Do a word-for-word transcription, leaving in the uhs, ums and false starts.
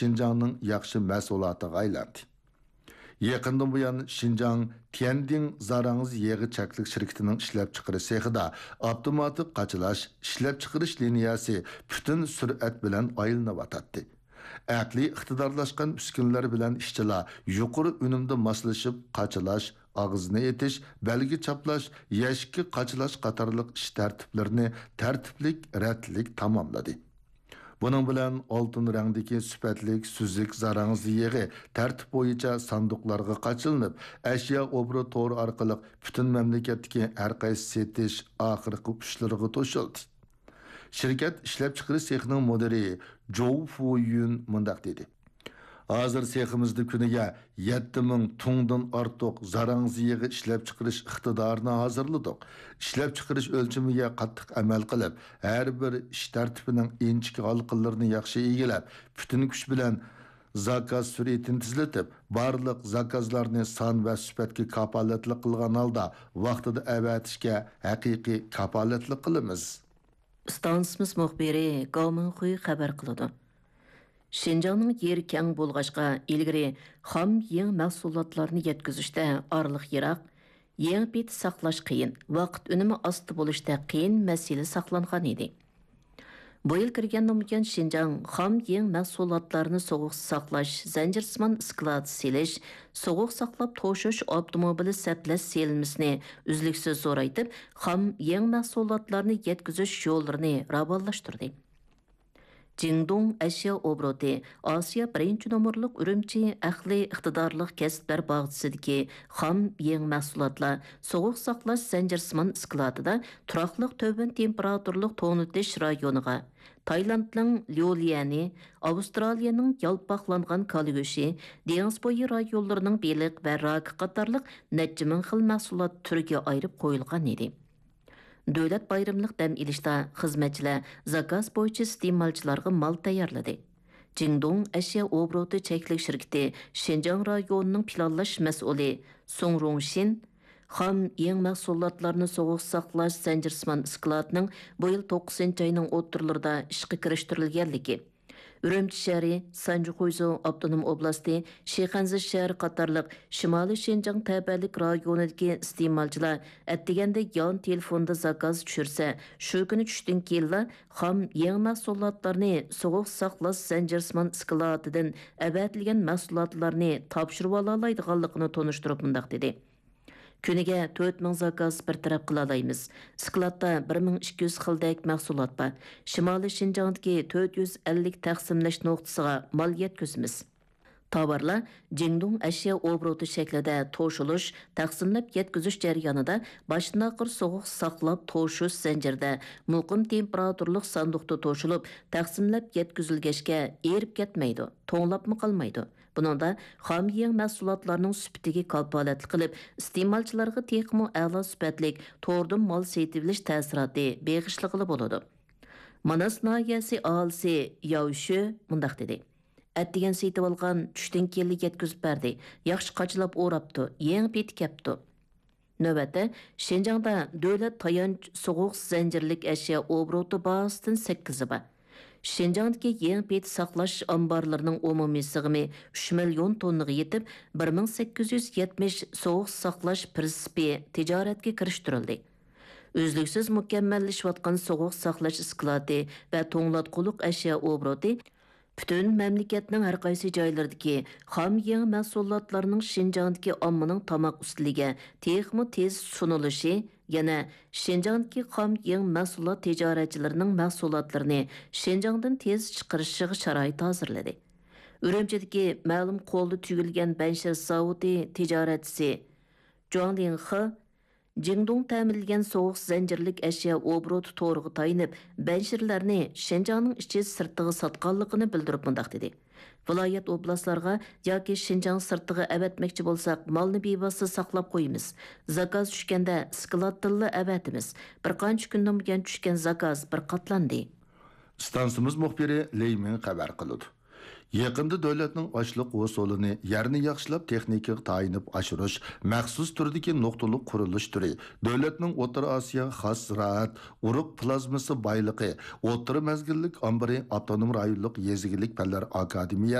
شىنجاڭنىڭ ياخشى مەھسۇلاتىغا ئايلاندى. يېقىندىن بۇيان، شىنجاڭ تيەندىڭ زاراڭزا يېغى چەكلىك شىركىتىنىڭ ئىشلەپچىقىرىش سېخىدا ئاپتوماتىك قاچىلاش ئىشلەپچىقىرىش لىنىيەسى پۈتۈن سۈرئەت بىلەن ئايلىنىۋاتاتتى. ئەقلىي ئىقتىدارلاشقان ئۈسكۈنىلەر بىلەن ئىشچىلار يۇقىرى ئۈنۈمدە ماسلىشىپ قاچىلاش، ئاغزىنى ئېتىش، بەلگە چاپلاش، يەشىككە قاچىلاش قاتارلىق ئىش تەرتىپلىرىنى تەرتىپلىك، رەتلىك تاماملىدى. بۇنىڭ بىلەن ئالتۇن رەڭدىكى سۈپەتلىك سۈزۈك زاراڭزا يېغى تەرتىپ بويىچە ساندۇقلارغا قاچىلىنىپ، ئەشيا ئوبوروت تورى ئارقىلىق پۈتۈن مەملىكەتتىكى ھەر قايسى سېتىش ئاخىرقى ئۇچلىرىغا توشۇلدى. شىركەت ئىشلەپچىقىرىش سېخىنىڭ مۇدىرى جوۋ فۇيۈن مۇنداق دېدى: ھازىر سېخىمىزدا كۈنىگە يەتتە مىڭ تۇڭدىن ئارتۇق زاراڭزا يېغى ئىشلەپچىقىرىش ئىقتىدارىنى ھازىرلىدۇق. ئىشلەپچىقىرىش ئۆلچىمىگە قاتتىق ئەمەل قىلىپ، ھەر بىر ئىش تەرتىپىنىڭ ئىنچىكە ھالقىلىرىنى ياخشى ئىگىلەپ، پۈتۈن كۈچ بىلەن زاكاز سۈرئىتىنى تېزلىتىپ، بارلىق زاكازلارنى سان ۋە سۈپەتكە كاپالەتلىك قىلغان ھالدا ۋاقتىدا ئەۋەتىشكە ھەقىقىي كاپالەتلىك قىلىمىز. ئىستانسىمىز مۇخبىرى گاۋ مىڭخۇي خەۋەر قىلىدۇ. شىنجاڭنىڭ يېرى كەڭ بولغاچقا، ئىلگىرى خام يېڭ مەھسۇلاتلارنى يەتكۈزۈشتە ئارىلىق يىراق، يېڭى پېتى ساقلاش قىيىن، ۋاقىت ئۈنۈمى ئاستا بولۇشتا قىيىن مەسىلە ساقلانغان ئىدى. بۇ يىل كىرگەندىن بۇيان، شىنجاڭ خام يېڭ مەھسۇلاتلارنى سوغۇق ساقلاش زەنجىرسىمان ئىسكىلات سېلىش، سوغۇق ساقلاپ توشۇش ئاپتوموبىلى سەپلەش سېلىنمىسىنى ئۈزلۈكسىز زورايتىپ، خام يېڭ مەھسۇلاتلارنى يەتكۈزۈش يوللىرىنى راۋانلاشتۇردى. جىڭدۇڭ ئەشيا ئوبوروتى ئاسىيا بىرىنچى نومۇرلۇق ئۈرۈمچى ئەقلىي ئىقتىدارلىق كەسىپلەر باغچىسىدىكى خام يېڭى مەھسۇلاتلار سوغۇق ساقلاش زەنجىرسىمان ئىسكىلاتىدا تۇراقلىق تۆۋەن تېمپېراتۇرىلىق توڭلىتىش رايونىغا، تايلاندنىڭ ليۇليەنى، ئاۋسترالىيەنىڭ يالپاقلانغان كالا گۆشى، دېڭىز بويى رايونلىرىنىڭ بېلىق ۋە راكى قاتارلىق نەچچە مىڭ خىل مەھسۇلات تۈرىگە ئايرىپ قويۇلغان ئىدى. دۆلەت بايرىملىق دەم ئېلىشتا خىزمەتچىلەر زاكاز بويىچە ئىستېمالچىلارغا مال تەييارلىدى. جىڭدۇڭ ئەشيا ئوبوروتى چەكلىك شىركىتى شىنجاڭ رايونىنىڭ پىلانلاش مەسئۇلى سۇڭ رۇڭشىن خام يېڭ مەھسۇلاتلارنى سوغۇق ساقلاش زەنجىرسىمان ئىسكىلاتىنىڭ بۇ يىل توققۇزىنچى ئاينىڭ ئوتتۇرىلىرىدا ئىشقا كىرىشتۈرۈلگەنلىكى، ئۈرۈمچى شەھىرى، سانجى خۇيزۇ ئاپتونوم ئوبلاستى، شىخەنزە شەھىرى قاتارلىق شىمالىي شىنجاڭ تەۋەلىك رايونىدىكى ئىستېمالچىلار ئەتىگەندە يان تېلېفوندا زاكاز چۈشۈرسە، شۇ كۈنى چۈشتىن كېيىنلا خام يېڭى مەھسۇلاتلارنى سوغۇق ساقلاش زەنجىرسىمان ئىسكىلاتىدىن ئەۋەتىلگەن مەھسۇلاتلارنى تاپشۇرۇۋالالايدىغانلىقىنى تونۇشتۇرۇپ مۇنداق دېدى: كۈنىگە تۆت مىڭ زاكاز بىر تەرەپ قىلالايمىز. ئىسكىلاتتا بىر مىڭ ئىككى يۈز خىلدەك مەھسۇلات بار. شىمالىي شىنجاڭدىكى تۆت يۈز ئەللىك تەقسىملەش نۇقتىسىغا مال يەتكۈزىمىز. تاۋارلار جىڭدۇڭ ئەشيا ئوبوروتى شەكلىدە توشۇلۇش، تەقسىملەپ يەتكۈزۈش جەريانىدا باشتىن ئاخىر سوغۇق ساقلاپ توشۇش زەنجىرىدە مۇقىم تېمپېراتۇرىلىق ساندۇقتا توشۇلۇپ، تەقسىملەپ يەتكۈزۈلگەچكە ئېرىپ كەتمەيدۇ، توڭلاپمۇ قالمايدۇ. بۇنىڭدا خام يېڭ مەھسۇلاتلارنىڭ سۈپىتىگە كاپالەتلىك قىلىپ، ئىستېمالچىلارغا تېخىمۇ ئەلا سۈپەتلىك توردىن مال سېتىۋېلىش تەسىراتى بېغىشلىغىلى بولىدۇ. ماناس ناھىيەسى ئاھالىسى ياۋ شۆ مۇنداق دېدى: ئەتىگەن سېتىۋالغان، چۈشتىن كېيىنلا يەتكۈزۈپ بەردى. ياخشى قاچىلاپ ئوراپتۇ، يېڭى پېتى كەپتۇ. نۆۋەتتە، شىنجاڭدا دۆلەت تايانچ سوغۇق زەنجىرلىك ئەشيا ئوبوروتى بازىسىدىن سەككىزى بار. شىنجاڭدىكى يېڭى پېتى ساقلاش ئامبارلىرىنىڭ ئومۇمىي سىغىمى ئۈچ مىليون توننىغا يېتىپ، بىر مىڭ سەككىز يۈز يەتمىش سوغۇق ساقلاش پىرىنسىپى تىجارەتكە كىرىشتۈرۈلدى. ئۈزلۈكسىز مۇكەممەللىشىۋاتقان سوغۇق ساقلاش ئىسكىلاتى ۋە توڭلاتقۇلۇق ئەشيا ئوبوروتى پۈتۈن مەملىكەتنىڭ ھەر قايسى جايلىرىدىكى خام يېڭ مەھسۇلاتلارنىڭ شىنجاڭدىكى ئاممىنىڭ تاماق ئۈستىلىگە تېخىمۇ تېز سۇنۇلۇشى، يەنە شىنجاڭدىكى خام يېڭ مەھسۇلات تىجارەتچىلىرىنىڭ مەھسۇلاتلىرىنى شىنجاڭدىن تېز چىقىرىشىغا شارائىت ھازىرلىدى. ئۈرۈمچىدىكى مەلۇم قولدا تۈگۈلگەن بەنشىر زاۋۇتى تىجارەتچىسى جۇاڭ لىڭخې جىڭدۇڭ تەمىنلىگەن سوغۇق زەنجىرلىك ئەشيا ئوبوروتى تورىغا تايىنىپ، بەنشىرلەرنى شىنجاڭنىڭ ئىچى سىرتىغا ساتقانلىقىنى بىلدۈرۈپ مۇنداق دېدى: ۋىلايەت، ئوبلاستلارغا ياكى شىنجاڭ سىرتىغا ئەۋەتمەكچى بولساق، مالنى بىۋاسىتە ساقلاپ قويىمىز. زاكاز چۈشكەندە ئىسكىلاتتىنلا ئەۋەتىمىز. بىر قانچە كۈندىن بۇيان چۈشكەن زاكاز بىر قاتلاندى. ئىستانسىمىز مۇخبىرى لېي مىڭ خەۋەر قىلىدۇ. يېقىندا دۆلەتنىڭ ئاشلىق ھوسۇلىنى يەرنى ياخشىلاپ تېخنىكىغا تايىنىپ ئاشۇرۇش مەخسۇس تۈردىكى نۇقتىلىق قۇرۇلۇش تۈرى دۆلەتنىڭ ئوتتۇرا ئاسىياغا خاس زىرائەت، ئۇرۇق پلازمىسى بايلىقى ئوتتۇرا مەزگىللىك ئامبىرى ئاپتونوم رايونلۇق يېزا ئىگىلىك پەنلەر ئاكادېمىيەسى